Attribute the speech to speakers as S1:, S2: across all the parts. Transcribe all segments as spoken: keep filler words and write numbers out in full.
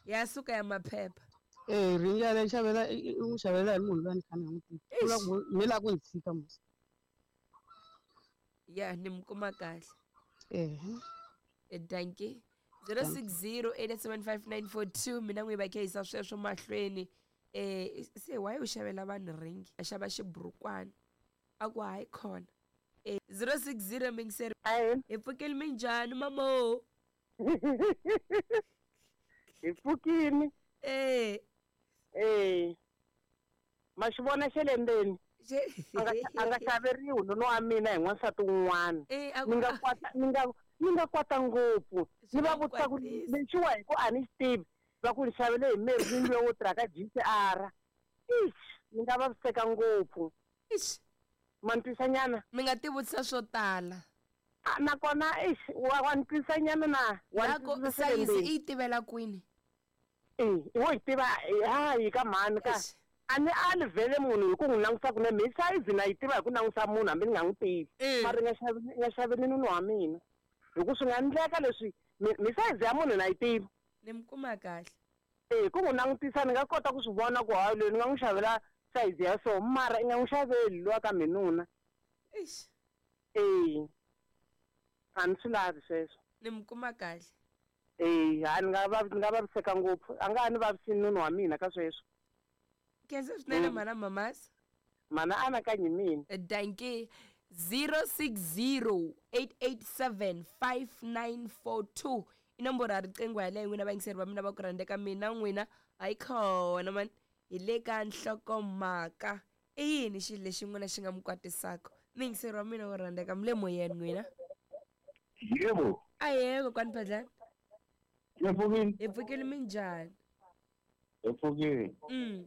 S1: Ya suka ya maphepha.
S2: Eh ringi yaleyo xavela i n'wi xavela hi munhu loyi a ni kha ni nga n'wi tivi. U la ku mi la ku ni tshika mos.
S1: Ya ni mi kuma kahle.
S2: Ehe.
S1: Dankie. zero six zero eight seven five nine four two mina n'wi va khehisa sweswo mahlweni. Eh se why u xavela vanhu ringi? A xava xiburukwana. A ku hayi khona. Eh zero six zero mingiseri. Hi pfukile minjhani mamo?
S3: Hi pfukile.
S1: Eh.
S3: Eh. Ma xi vona xa le ndzeni. A nga xaveriwi nuna wa mina hi n'wansati wun'wana. Ni nga kwata ni nga ni nga kwata ngopfu. Ni va vutisa ku lexiwa hi ku a ni xi tivi. Va ku ni xavele hi Merlin loyi wo tirha ka G C R. Ixi, ni nga vaviseka ngopfu.
S1: Ixi.
S3: Ma ni twisa nyana?
S1: Mi nga ti vutisa swo tala.
S3: Nakona ixi wa wa ni twisa nyana na wa
S1: ni sayizi i yi tivela kwini?
S3: Eh, wo yi tiva hayi ka mhani ka. A ni ali vhele munhu hi ku n'wi langusa kunene mi sayizi na yi tiva hi ku langusa munhu hambi ni nga n'wi tivi. Mara nga xavi nga xaveli nuna wa mina. Hi ku swi nga endleka leswi mi sayizi ya munhu na yi tiva.
S1: Ni mi kuma kahle.
S3: Eh ku n'wi langutisa ni nga kota ku swi vona ku hayi loyi ni nga n'wi xavela sayizi ya so mara i nga n'wi xaveli luwa ka minuna.
S1: Ixi.
S3: Eh. A ni swi lavi sweswo.
S1: Ni mi kuma kahle.
S3: Eh, a ni nga vavi ni nga vaviseka ngopfu. A nga ha ni vavisi nuna wa mina ka sweswo.
S1: Khensa swinene mana mamasa.
S3: Mana anakanyi mina.
S1: Dankie. zero six zero eight eight seven five nine four two i nomboro ya riqingho yaleyo n'wina vayingiseri va mina va ku rhandzeka mina n'wina hayi khona mani hi le ka nhlokomhaka. I yini xilo lexi n'wina xi nga mi kwatisaka? Muyingiseri wa mina wo rhandzeka mi le moyeni n'wina.
S4: Yebo.
S1: Ahee kokwani Phadlana.
S4: Hi pfukile.
S1: Hi pfukile minjhani?
S4: Hi pfukile.
S1: Mm.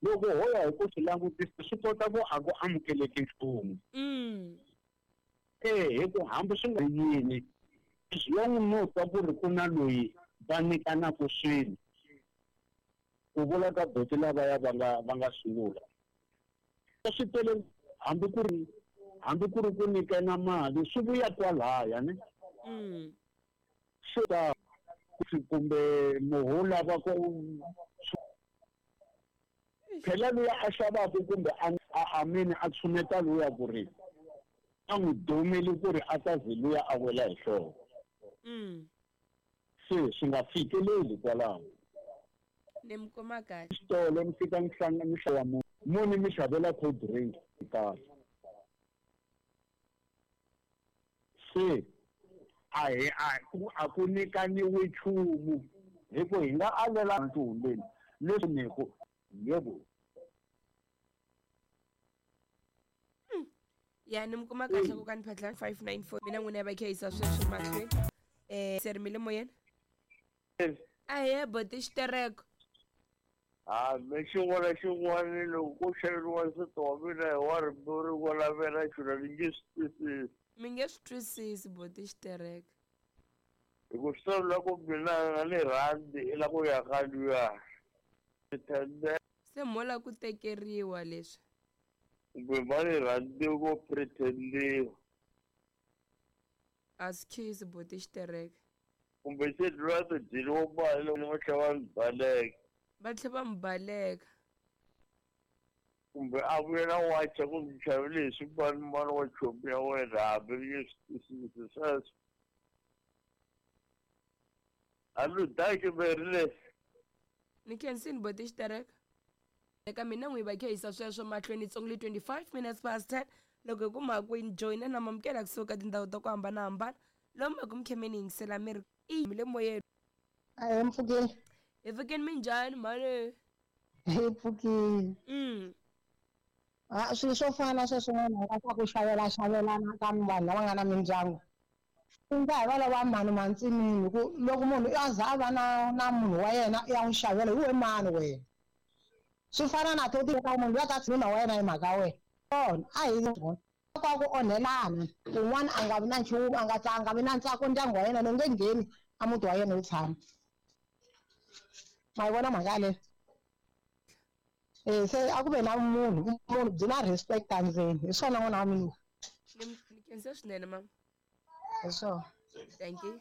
S4: Loko ho ya hi ku swi langutisa swi kota ku a ku amukeleki nchumu.
S1: Mm.
S4: Eh hi ku hambi swi nga yini as long no twa ku ri ku na loyi va nyikanaka swilo ku vula ka boti lavaya va nga va nga sungula. Swi tele hambi ku ri hambi ku ri ku nyikana mali swi vuya kwalaya ne.
S1: Mm.
S4: Swi ta kumbe muhu lava ku phela luya a xavaka kumbe a amini a tshuneta luya ku ri a n'wi domeli ku ri a ta ze luya a wela hi nhloko.
S1: Mm.
S4: Se swi nga fikeleli kwalaho.
S1: Ni mi kuma kahle.
S4: Xitolo mi fika mi hlangana mi xava munhu muni mi xavela cold drink kahle. Se a hi a ku a ku nyikaniwi nchumu hi ku hi nga alela ntumbeni leswi ni ku yebo.
S1: Ya ni mi kuma kahle kokwani Phadlana five nine four mina n'wina va khehisa sweswo mahlweni. Eh se ri mi le moyeni? Ahee boti xitereko.
S5: Ah, me xin'wana xin'wana loko ko xaveriwa nsati wa mina hi wa rimbewu rin'wana lavela xona ni nge swi twisisi.
S1: Mi nge swi twisisi boti xitereko.
S5: Hi ku swi vula ku mina a ni rhandzi i la ku ya ka luya.
S1: Se mo la ku tekeriwa leswi.
S5: Kumbe va ni rhandzi ko pretendiwa.
S1: A swi khisi boti xitereko.
S5: Kumbe se luya ti dyeriwa mali loko va tlhela va ni baleka.
S1: Va tlhela va mi baleka.
S5: Kumbe a vuya na wacha ku mi xavele hi swimanimani wa chomi ya wena hambi ni nge swi twisisi sweswo. A ni daki meri
S1: Ni khensini boti xitereko. Eka mina n'wi va khehisa sweswo mahlweni tsongoli twenty-five minutes past ten loko hi kuma ku ni joyina na mamukela kusuka tindhawu ta ku hambanahambana lomu ku mi khemeni yingisela mi ri i mi le moyeni.
S6: Ahee mpfukile.
S1: Hi pfukile minjhani mhani?
S6: Hi pfukile.
S1: Mm.
S6: Ah swilo swo fana sweswo n'wana swa ku xavela xavelana ka vanhu lava nga na mindyangu. Ku nga hi va lava mhani mantsinini ku loko munhu a za a va na na munhu wa yena ya n'wi xavela hi we mani wena. Swi fana na to ka munhu loyi a ta nuna wa yena hi mhaka wena. Kona a hi ka ku onhelana un'wana a nga vi na nchumu a nga a nga vi na ntsako ndyangu wa yena ni nge ngheni a muti wa yena wu tshama. Ma yi vona mhaka yaleyo? Eh se a ku ve na munhu munhu byi na respect endzeni hi swona n'wana wa mina.
S1: Ni khensa swinene mama.
S6: Hi swona.
S1: Thank you.